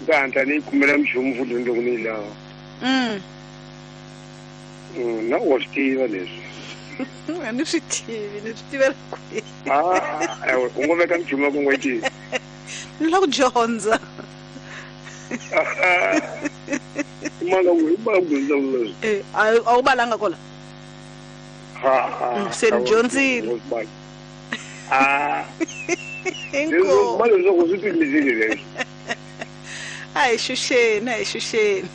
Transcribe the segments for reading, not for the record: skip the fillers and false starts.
Ta hatla ni yi kumela minchumu futhi loko ni yi lava. Na wa swi tiva leswi. A ni swi tivi, ni swi tivela kwihi? Ah, ewe, u ngo veka minchumu ya ku ngo yi tivi. Ni lava ku dyondza. I manga ku i manga ku dyondzisa leswi. Eh, a wu balanga kola? Ha, ha. Se ni dyondzile. Ah. Inkomu. Mali leswaku swi timisile leswi. A hi xuxeni, a hi xuxeni.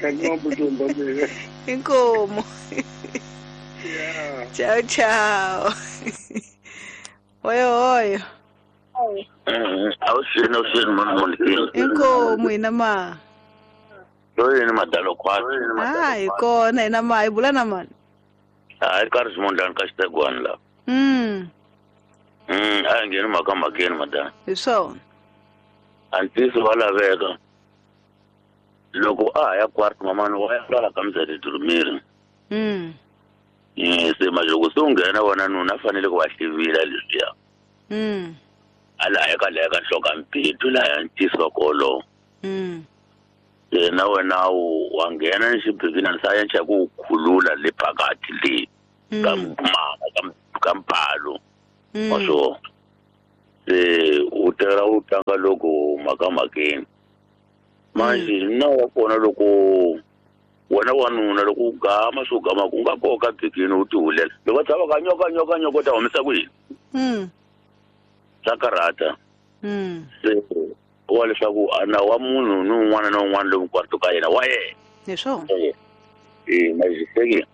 Kanti mambutumba mina. Inkomu. Yeah. Ciao, ciao. Hoyo, hoyo. Awuxeni, awuxeni mani Monikeni. Inkomu hina ma. Loyi ni madalo khwatsi. Ah, hi kona hina ma, hi bula na mani. Hayi ka ri ka xitegwana la. A hi ngheni mhaka mhakeni madala. Hi swona. Antiso wa laveka. Loko a ha ya kwart mamani wa ya lala ka mzali durumiri. Se manje loko se u nghena wena nuna a fanele ku va hlivila leswiya. A laha ka laha ka nhloko mpitu laha ntiso wa kolo. Se na wena wa nghena ni xibibina sa ya ncha ku khulula le phakathi le ka mama ka mpalo. Wa swo. Se u tela u tlanga loko mhaka mhakeni. Manje na wa kona loko wena wanuna loko u gama swo gama ku nga koka bikini u tihulela. Loko tshava ka nyoka nyoka nyoka ta humesa kwihi? Swa karhata. Se wa leswaku ana wa munhu ni un'wana na un'wana lomu kwarto ka yena wa yena. Hi swona. Eh, majiseki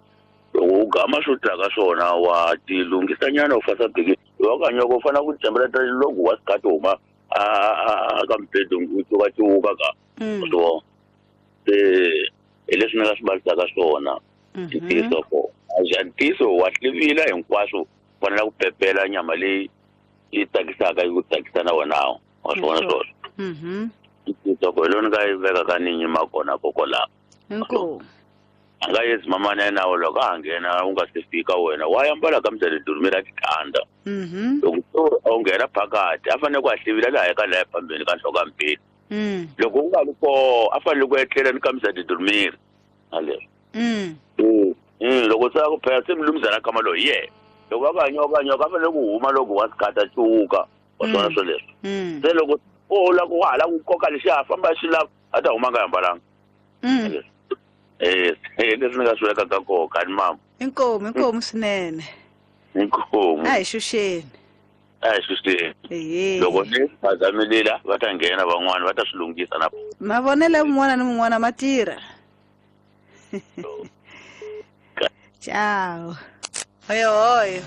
loko u gama swo tlaka swona wa tilunghisa nyana u fasa bikini. Wa ka nyoka u fanele ku tshembela loko wa sikati huma a ka mbedo u tsuka cuka ka. So se hi leswi ni nga swi balisaka swona. Ntiyiso ko. Ntiyiso wa hlivila hinkwaswo fanele ku pepela nyama leyi yi tsakisaka yi ku tsakisa na wena wa swona swoswo. Ntiyiso ko hi loni nga yi veka ka ni nyima kona kokwalaho. Inkomu. A nga yezi mamani ya nawu loko a nghena u nga se fika wena wa yambala ka mzali durumela tikanda. Loko u nghena phakathi a fanele ku a hlivila laha ka laha phambeni ka nhloko ya mbilu. Loko u nga ri koho a fanele ku etlela ni ka mzali durumela. Aleswo. Loko se ku phela se mlumzana kama loyi ye. Loko a ka nyoka nyoka a fanele ku huma loko wa sikata cuka. Wa swona swoleswo. Se loko o la ku hala ku koka lexiya famba xi lava a ta huma nga hambalanga. Eh, leswi ni nga swi vekaka koho ka ni mama. Inkomu, inkomu swinene. Inkomu. A hi xuxeni. A hi xuxeni. Ehe. Loko ni phazamelila va ta nghena van'wana va ta swi lunghisa na. Mavonelo ya mun'wana ni mun'wana ma tirha. Ciao. Hoyo hoyo.